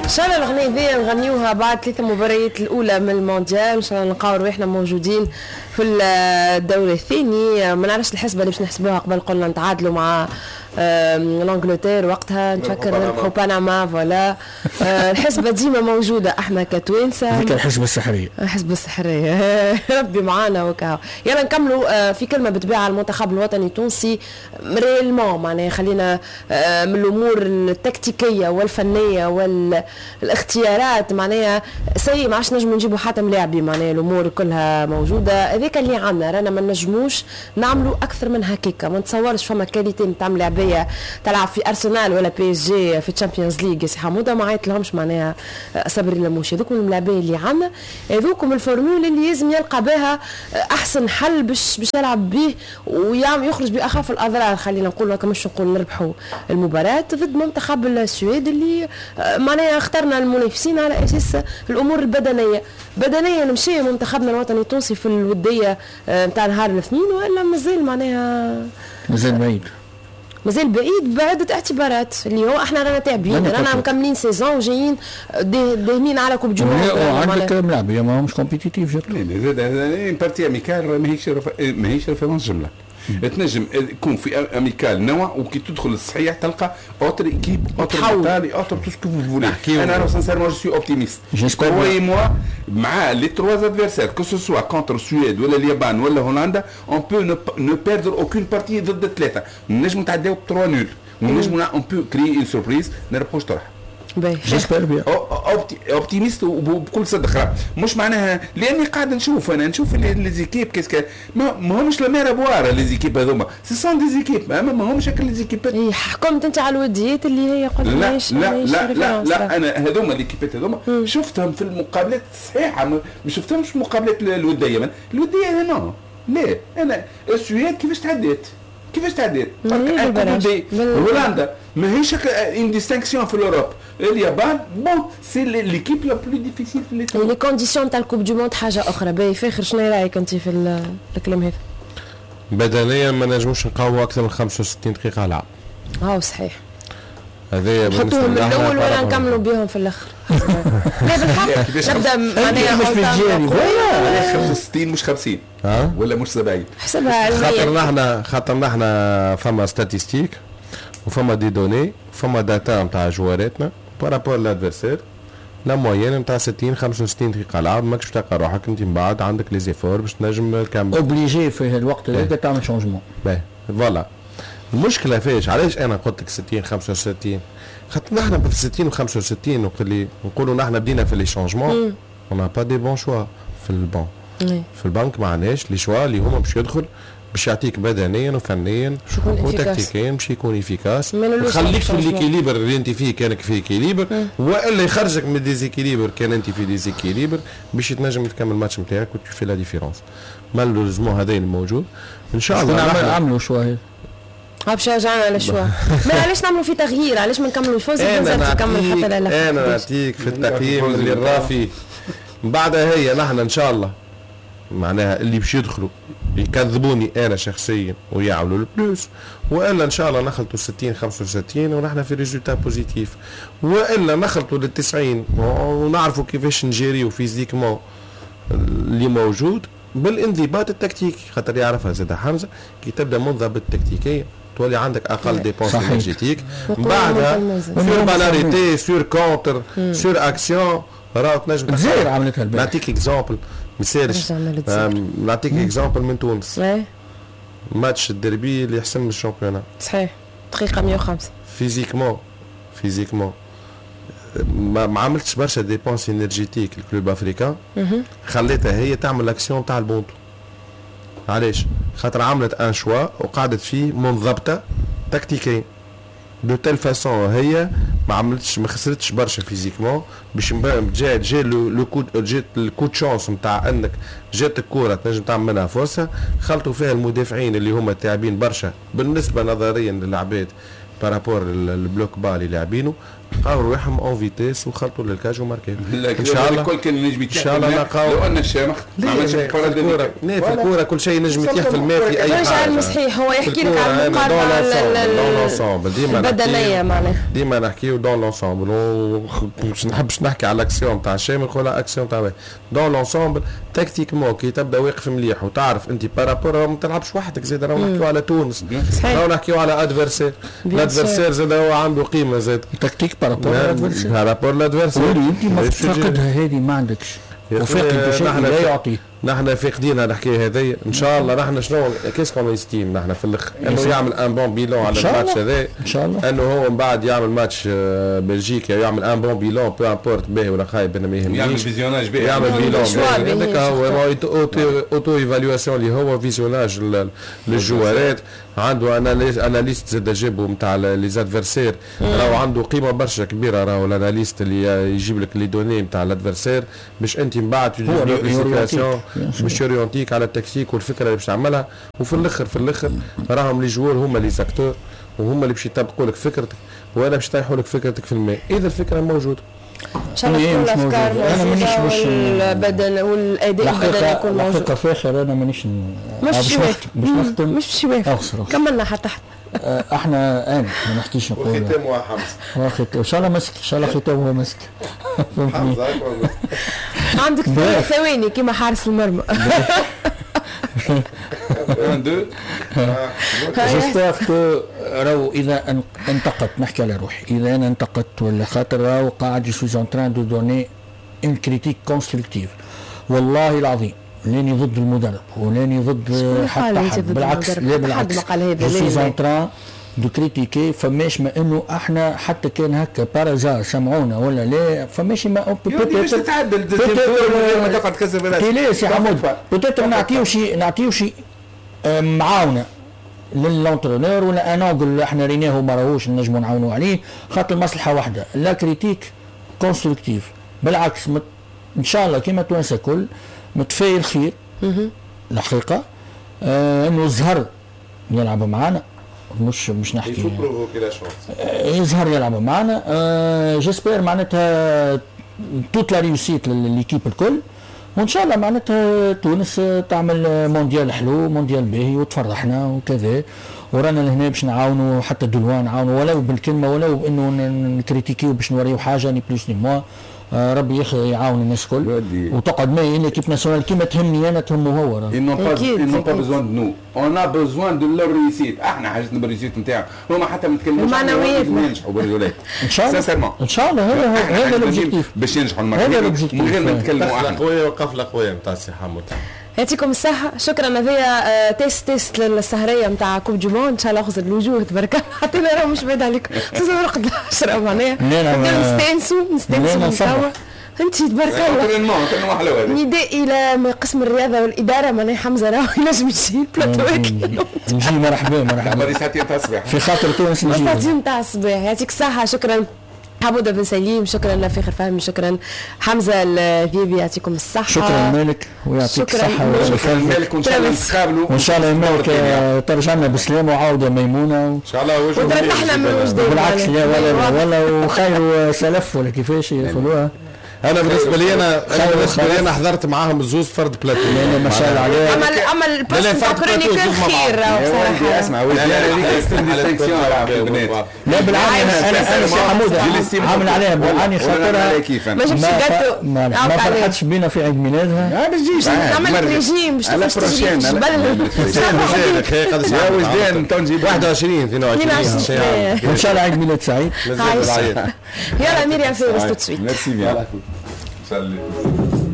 ان شاء الله الاغنية ذي نغنيوها بعد ثلاث مباريات الاولى من المونديال، ان شاء الله نلقاو رواحنا موجودين في الدوري الثاني. ما نعرفش الحسبة اللي باش نحسبوها، قبل قلنا نتعادلوا مع l'Angleterre، وقتها نتفكر نربحوا بنما، voilà. الحسبة ديما موجودة احنا كتوانسه. هذيك الحسبة السحريه. الحسبة السحريه، ربي معانا وكهو. يلا نكملوا في كلمة بالطبيعة على المنتخب الوطني التونسي réellement، معناها خلينا من الامور التكتيكيه والفنية والاختيارات، معناها سي ما عادش نجموا نجيبوا حتى ملاعبي، معناها الامور كلها موجوده، هذاك اللي عندنا، رانا ما نجموش نعملوا اكثر من هكاكا. ما نتصورش فما qualité نتاع ملاعبيه تلعب في ارسنال ولا PSG في Champions League، سي حموده ما عيط لهمش معناها صبري لموشي. هذوك الملاعبيه اللي عندنا، هذوكم ال formule اللي لازم يلقى بها احسن حل باش يلعب به ويخرج باخف الاضرار، خلينا نقول هكا، مش نقول نربحوا المباراة ضد منتخب السويد اللي معناها اخترنا المنافسين على اساس الامور البدنيه. بدنيا مشي منتخبنا الوطني التونسي في الودية نتاع نهار الاثنين ولا مازال معناها؟ مازال بعيد. مازال بعيد بعدة اعتبارات، اللي هو احنا رانا تعبين، رانا مكملين saison وجايين داهمين على Coupe du Monde. وعندك ملاعبيه ما همش compétitifs. زاد partie amicale ماهيش référence جمله. تنجم يكون في amicale نوع، وكي تدخل الصحيح تلقى autre équipe، autre mentalité، autre tout ce que vous voulez. انا sincèrement je suis optimiste، croyez-moi، مع les trois adversaires، que ce soit contre السويد ولا اليابان ولا هولندا، on peut ne perdre aucune partie. ضد ثلاثة نجموا نتعداو ب 3 nuls ونجموا on peut créer une surprise، نربحوش طرح. j'espère bien. optimiste وبكل صدق، مش معناها لاني قاعد نشوف، انا نشوف les équipes qu'est-ce que ما همش la mer à boire les équipes هذوما، ce sont des équipes اما ما همش les équipes. اي، حكمت انت على الوديات اللي هي قلت لا لا لا لا لا، انا هذوما les équipes هذوما شفتهم في المقابلات الصحيحه، ما شفتهمش في المقابلات الوديه. الودية non، لا، انا السويد كيفاش تعديت؟ كيفاش تعديت؟ هولندا ماهيش une distinction في l'Europe. اليابان bon c'est l'équipe la plus difficile في les conditions تاع ال Coupe du Monde حاجة اخرى. باهي فاخر، شنو رايك انت في الكلام هذا؟ بدنيا ما نجموش نقاوموا اكثر من 65 دقيقة لعب. اه صحيح. هذايا. نحطوهم من الاول ولا نكملوا بهم في الاخر؟ لا بالحق نبدا معناها مش بالجاري. 65 مش 50 ولا مش 70. حسبها علميا. خاطر نحن فما statistiques وفما des données، فما data نتاع جواراتنا par rapport l'adversaire، la moyenne نتاع 60 65 دقيقة لعب، ماكش تلقى روحك انت من بعد عندك les efforts باش تنجم تكمل. obligé في الوقت هذاك تعمل changement. باهي، voilà المشكلة فيش. علاش انا قلت لك 60 65؟ خاطر نحن في 60 و 65 وقت اللي نقولوا نحن بدينا في les changements، on n'a pas des bons choix في البون في البنك، ما عندناش les choix اللي هما باش يدخل باش يعطيك بدنيا وفنيا وتكتيكيا باش يكون efficace، يخليك في l'équilibre اللي انت فيه كانك في équilibre، والا يخرجك من déséquilibre كان انت في déséquilibre، باش تنجم تكمل الماتش نتاعك و tu fais la différence. malheureusement هذا الموجود. ان شاء الله. عملوا choix. باش رجعنا على choix، ما علاش نعملوا في تغيير؟ علاش ما نكملوا؟ فوزي انا نكمل حتى لا. انا نعطيك في التقييم اللي الرافي بعدها هي نحن ان شاء الله معناها اللي باش يدخلوا يكذبوني انا شخصيا ويعملوا ال plus، والا ان شاء الله نخلطوا 60 65 ونحن في résultat positif، والا نخلطوا لل 90 ونعرفوا كيفاش نجيريو physiquement اللي موجود بالانضباط التكتيكي، خاطر يعرفها زاد حمزه، كي تبدا منضبط تكتيكيا تولي عندك اقل dépenses énergétiques بعدها sur balle arrêtée، sur contre، sur action، راهو تنجم. الجزائر عملتها. نعطيك exemple، مثالش، نعطيك exemple من تونس، ماتش الدربي اللي حسم ال championnat. صحيح، دقيقة 105. physiquement ما عملتش برشا dépenses énergétiques ال Club Africain، خليتها هي تعمل l'action تاع البونتو. علاش؟ خاطر عملت un choix وقعدت فيه منضبطة تكتيكيا de telle façon هي ما عملتش، ما خسرتش برشا physiquement باش جا le coup، جات ال coup de chance نتاع انك جات الكورة تنجم تعمل منها فرصه، خلطوا فيها المدافعين اللي هما تاعبين برشا بالنسبة نظريا للعباد par rapport ال bloc bas اللي لاعبينه. لقاو رواحهم en vitesse وخلطوا لل cage وماركيو. ان شاء الله الكل كان ينجم ان شاء الله نلقاو لو ان الشامخ ما عملش الكره. لا في الكورة كل شيء ينجم يتيح في الماء في اي حاجة. مش صحيح، هو يحكي لك على المقارنة البدنية معناها. ديما نحكيو dans l'ensemble، مش نحبش نحكي على الاكسيون تاع الشامخ ولا اكسيون تاع dans l'ensemble. tactiquement كي تبدا واقف مليح وتعرف انت par rapport، ما تلعبش وحدك زاد، راهو نحكيو على تونس، راهو نحكيو على adversaire، ال adversaire زاد هو عنده قيمة زاد tactique par rapport l'adversaire، par rapport l'adversaire. انت ما تفقدها هذه، ما عندكش وفاقد شيء لا يعطي. نحن فاقدين الحكاية هذه. ان شاء الله نحن شنو qu'est-ce qu'on estime نحن في الاخر؟ انه يعمل un bon bilan على الماتش هذا ان شاء الله، انه هو من بعد يعمل ماتش بلجيكا، يعمل un bon bilan peu importe باهي ولا خايب، انا ما يهمنيش. يعمل visionnage باهي، يعمل bilan هذاك هو auto-évaluation اللي هو visionnage للجوارات. عنده analyste زاد جابو نتاع les adversaires، راهو عنده قيمة برشا كبيرة، راهو ال analyste اللي يجيب لك les données نتاع ال adversaire باش انت من بعد باش يورينتيك على التكتيك والفكرة اللي باش تعملها. وفي الاخر في الاخر راهم les joueurs هما les acteurs، وهما اللي باش يطبقوا لك فكرتك ولا باش يطيحوا لك فكرتك في الماء اذا الفكرة موجودة. ان شاء الله تكون الافكار موجودة والبدن والاداء البدني يكون موجود. الحقيقة فاخر انا مانيش مش باش نختم، مش باش يوافق، كملنا حتى حتى احنا انا ما نحكيش نقول وختامها حمزة، ان شاء الله مسك، ان شاء الله ختامها مسك. حمزة عندك ثواني كيما حارس المرمى. 1 2 j'espère que راهو اذا انتقدت، نحكي على روحي، اذا انا انتقدت ولا خاطر راهو قاعد je suis en train de donner une critique constructive. والله العظيم لاني ضد المدرب ولاني ضد حتى حد، بالعكس، لا بالعكس، je suis en train de critiquer. فماش ما انه احنا حتى كان هكا par hasard سمعونا ولا لا، فماش ما باش تتعدل ما تقعد تكسب. لا سي حمود، peut-être نعطيو شي معاونة لل entraîneur ولا un angle احنا ريناه ما راهوش نجمو نعاونوا عليه، خاطر المصلحة واحدة، la critique constructive. بالعكس ان شاء الله كيما توانسة الكل متفائل خير الحقيقة، انه الزهر يلعب معانا، مش نحكي يظهر يلعب معنا. j'espère معناتها toute la réussite l'équipe الكل، وان شاء الله معناتها تونس تعمل مونديال حلو، مونديال باهي وتفرحنا وكذا. ورانا لهنا باش نعاونوا حتى de loin، نعاونوا ولو بالكلمة ولو بانه نكريتيكيو باش نوريو حاجة ni plus ni moins. ربي يعاون الناس الكل وتقعد معي l'équipe nationale كيما تهمني انا تهمه هو. Ils n'ont pas besoin de nous. On a besoin de leur réussite. احنا حاجتنا بال réussite نتاعهم، هما حتى ما يتكلموش المعنويات ينجحوا بالرجولات. ان شاء الله ان شاء الله هذا l'objectif باش ينجحوا المرة هذا l'objectif من غير ما نتكلموا احنا. قوية وقفله قوية نتاع سي حمود. يعطيكم الصحة، شكرا. هذايا test للسهرية نتاع coupe du monde، ان شاء الله خذ الوجوه تبارك الله، حتى انا مش بعيد عليكم، خصوصا نرقد 10 معناها نستانسوا من توا. انت تبارك الله نداء الى قسم الرياضة والإدارة، معناها حمزة راهو ينجم يجي البلاتوات. نجي مرحبا مرحبا ساعتين تاع الصباح في خاطر تونس، نجي ساعتين تاع الصباح. يعطيك الصحة، شكرا حمودة بن سليم، شكرا لفاخر فهمي، شكرا حمزة الذيبي، يعطيكم الصحة. شكرا مالك ويعطيك الصحة. شكرا مالك، وإن شاء الله نتقابلوا وإن شاء الله مالك ترجع لنا بسلامة وعودة ميمونة إن شاء الله. وجه وترتحنا من وجدان بالعكس، لا ولا ولا وخير سلف ولا كيفاش يقولوها. انا بالنسبة لي انا حضرت معاهم الزوز فرد بلاتو. لا ما شاء الله عليه. اما ال poste تاع chroniqueur خير بصراحة. اسمع لا بالعاني انا سي حمود عامل عليها بالعاني خاطرها ما جبتش جاتو، ما فرحتش بينا في عيد ميلادها. ما تجيش نعمل ريجيم باش تخرج تجري في الجبل. يا وجدان تو نجيب 21 22 ان شاء الله عيد ميلاد سعيد. يلا مريم فارس tout de suite. merci bien. Salut.